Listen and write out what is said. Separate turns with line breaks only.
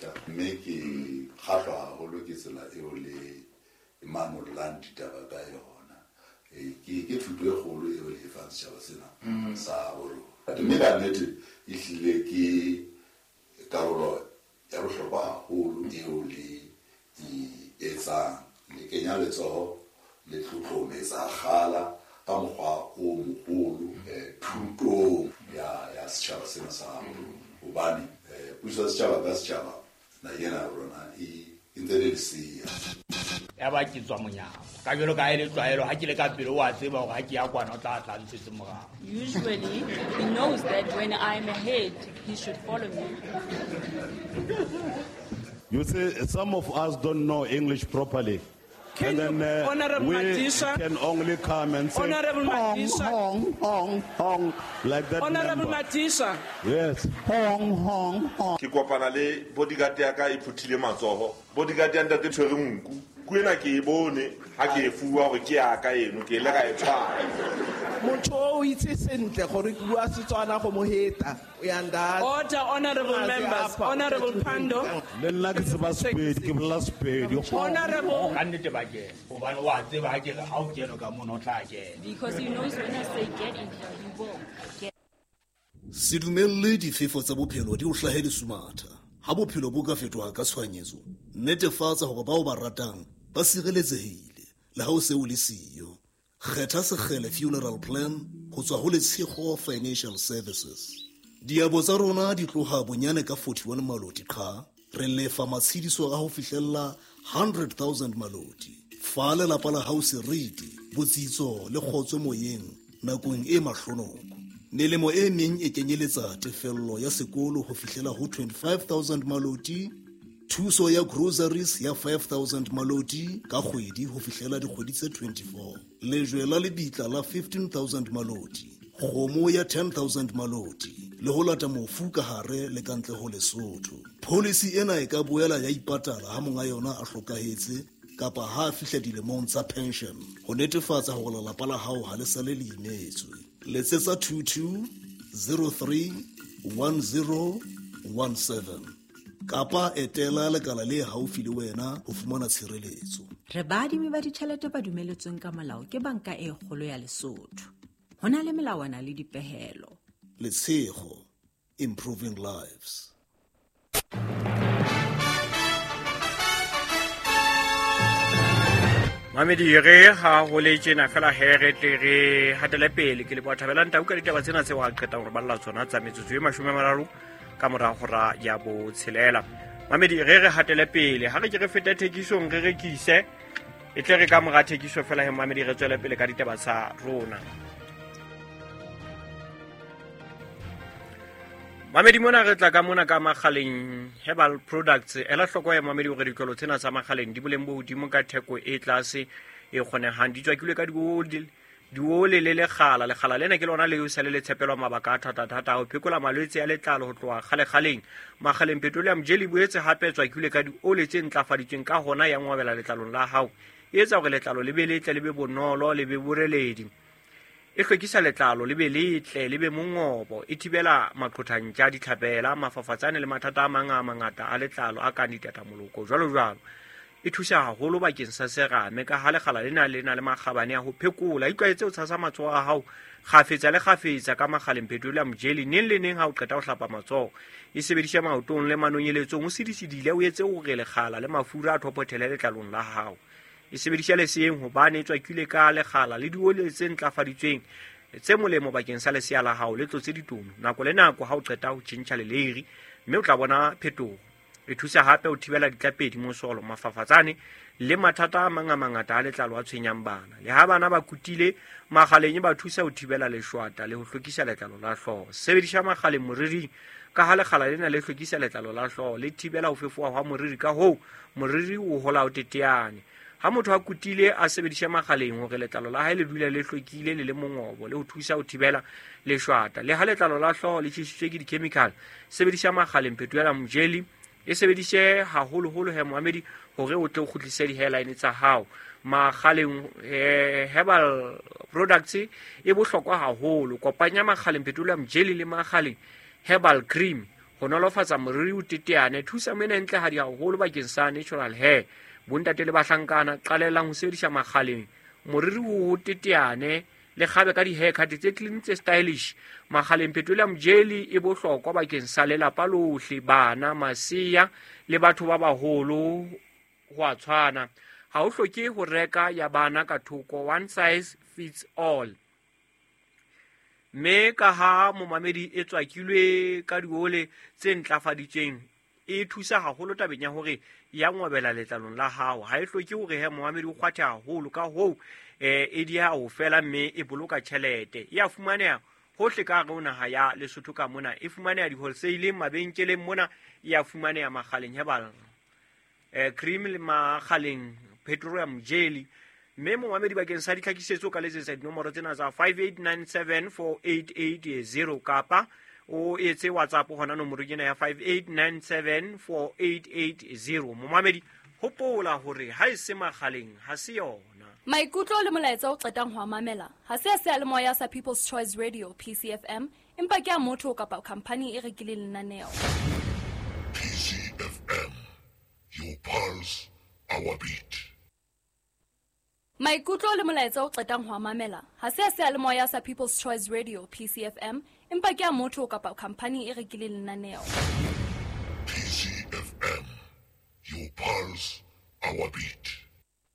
Mokgatla mme ke kgahlwa haholo ke tsela eo le manollang ditaba ka yona. Ke thuto e kgolo eo le e fang setjhaba sena sa borona. Mme ka nnete e hlile ke karolo ya bohlokwa haholo eo le e etsang. Le kenya letsoho le tlotlometsa kgala ka mokgwa o moholo thutong ya setjhaba sena sa rona. Hobane puso ya setjhaba ka setjhaba naheng ena ya rona e ntse le lesea.
Ya ba ke tswa monyako. Ka jwalo ka ha e le tlwaelo, ha ke le ka pele o a tseba hore ha ke ya kwana o tla tla ntshetse morao.
Usually, he knows that when I'm ahead, he should follow me.
You see, some of us don't know English properly.
Can
And then
you, Honorable
we
Madisha,
can only come and say,
Honorable
hong,
Madisha.
hong, hong, hong, like that
Honorable
number.
Madisha.
Yes. Hong, hong, hong.
Ke kopana le bodyguard ya ka e phuthile matsoho. Bodyguard ya ntate tshwere nku. Ku ena ke e bone ha ke e fuwa hore ke ya ka eno, ke ile ka e tshwara.
Motho o itse sentle gore ke bua Setswana go mo heta. O ya ndatse.
Order, honorable
A se
members.
apa,
Honorable
o tla
Pando.
Le nna ke tseba Sepedi, ke bolela Sepedi.
Honorable.
Ka nnete ba kena. Hobane o a tseba ha ke re ha o kene ka mono o tla kena.
Because he knows when I say get in here, he will get.
Se dumelle difefo tsa bophelo di o hlahe lesumatha. Ha bophelo bo ka fetoha ka tshohanyetso, netefatsa hore bao ba ratang ba sireletsehile le ha o se o le siyo. Kgetha Sekgele Funeral Plan ho tswa ho Letshego Financial Services. Diabo tsa rona di tloha bonyane ka 41 maloti qha, re lefa matshediso a ho fihlella 100,000 maloti. Fa lelapa la hao seriti, botsitso le kgotso moyeng nakong e mahlonoko. Melemo e meng e kenyeletsa tefello ya sekolo ho fihlela ho 25,000 maloti, thuso ya groceries ya 5,000 maloti ka kgwedi ho fihlela dikgwedi tse 24, lejwe la lebitla la 15,000 maloti, kgomo ya 10,000 maloti le ho lata mofu ka hare le ka ntle ho Lesotho. Policy ena e ka boela ya ipatala ha monga yona a hlokahetse kapa ha a fihla dilemong tsa pension ho netefatsa hore lelapa la hao ha le sale le imetswe. Letsetsa 22 03 10 17 kapa etela lekala le haufi le wena ho fumana tshireletso.
Re baadimi ba ditjhelete ba dumeletsweng ka molao ke banka e kgolo ya Lesotho. Ho na le melawana le dipehelo.
Letshego, improving lives.
Mamedi re ha ho le tjena fela he re tle re hatele pele ke leboha Thabelang Tau ka ditaba tsena tseo a qetang hore balla tsona tsa metsotso e 30 ka mora hora ya botshelela. Mamedi re re hatele pele ha re ke re fete thekisong re rekise e tle re ka mora thekiso fela he mamedi re tswele pele ka ditaba tsa rona. Mamedi mona re tla ka mona ka Makgaleng Herbal Products. Ela hloko ya mamedi hore ditlolo tsena tsa Makgaleng di boleng bo hodimo ka theko e tlase e kgonehang. Di tswakilwe ka diole le lekgala. Lekgala lena ke lona leo sa le le tshepelwa mabaka a thata-thata ho phekola malwetse a letlalo ho tloha kgale-kgaleng. Makgaleng Petroleum Jelly boetse hape tswakilwe ka diole tse ntlafaditsweng ka hona ya ngwabela letlalong la hao. E etsa hore letlalo le be letle, le be bonolo, le be boreledi. E hlwekisa letlalo le be letle, le be mongobo, e thibela maqhothantja, ditlhapela, mafafatsane le mathata a mang a mangata a letlalo a kang ditatamoloko jwalo jwalo. E thusa haholo bakeng sa serame ka ha lekgala lena le na le makgabane a ho phekola. Itlwaetse ho tshasa matsoho a hao kgafetsa le kgafetsa ka Makgaleng Petroleum Jelly neng le neng ha o qeta ho hlapa matsoho. E sebedisha maotong le manonyeletsong, o sidisidile, o etse hore lekgala le mafura a thophothele letlalong la hao. E sebedisha leseyeng hobane e tswakilwe ka lekgala le dioli tse ntlafaditsweng tse molemo bakeng sa lesea la hao le tlotse ditono nako le nako ha o qeta ho tjhentjha leleiri, mme o tla bona phetoho. E thusa hape ho thibela ditlapedi, mosolo, mafafatsane le mathata a mang a mangata a letlalo a tshwenyang bana. Le ha bana ba kutile, Makgaleng e ba thusa ho thibela leshwata le ho hlwekisa letlalo la hlooho. Sebedisa Makgaleng moriring ka ha lekgala lena le hlwekisa letlalo la hlooho, le thibela ho fefoha hwa moriri, ka hoo moriri o hola o teteane. Ha motho a kutile a sebedisa Makgaleng hore letlalo la hae le dule le hlwekile le le mongobo le ho thusa ho thibela leshwata. Le ha letlalo la hlooho le tjhesitswe ke di-chemical, sebedisa Makgaleng Petroleum Jelly. E sebedise haholoholo he moamedi hore o tle o kgutlise di-hairline tsa hao. Makgaleng Herbal Products e bohlokwa haholo. Kopanya Makgaleng Petroleum Jelly le Makgaleng Herbal Cream Ho nolofatsa moriri o teteane. Thusa mena e ntlehadi haholo bakeng sa natural hair. Bontate le bahlankana, qalellang ho sebedisa Makgaleng. Moriri o teteane le kgabe ka di-haircut tse clean, tse stylish. Makgaleng Petroleum Jelly e bohlokwa bakeng sa lelapa lohle, bana, masea le batho ba baholo ho a tshwana. Ha o hloke ho reka ya bana ka thoko, one size fits all. Mme ka ha momamedi e tswakilwe ka diole tse ntlafaditsweng, e thusa haholo tabeng ya hore ya ngwabela letlalong la hao. Ha e hloke hore he momamedi o kgwathe haholo, ka hoo e dieha ho fela mme e boloka tjhelete. E a fumaneha hohle ka hare ho naha ya Lesotho ka mona. E fumaneha di-wholesale, mabenkeleng mona, e a fumaneha Makgaleng Herbal Cream le Makgaleng Petroleum Jelly. Mme momamedi, bakeng sa ditlhakisetso o ka letsetsa dinomoro tsena tsa 58974880 kapa o etse WhatsApp hona nomorong ena ya 58974880. Momamedi, hopola hore ha e se Makgaleng ha se yona.
Maikutlo le molaetsa o qetang ho a mamela ha se a seyalemoya sa People's Choice Radio, PCFM, empa ke a motho kapa khamphani e rekileng lenaneo.
PCFM, your pulse, our beat.
Maikutlo le molaetsa o qetang ho a mamela ha se a seyalemoya sa People's Choice Radio, PCFM, empa ke a motho kapa khamphani e rekileng lenaneo.
PCFM, your pulse, our beat.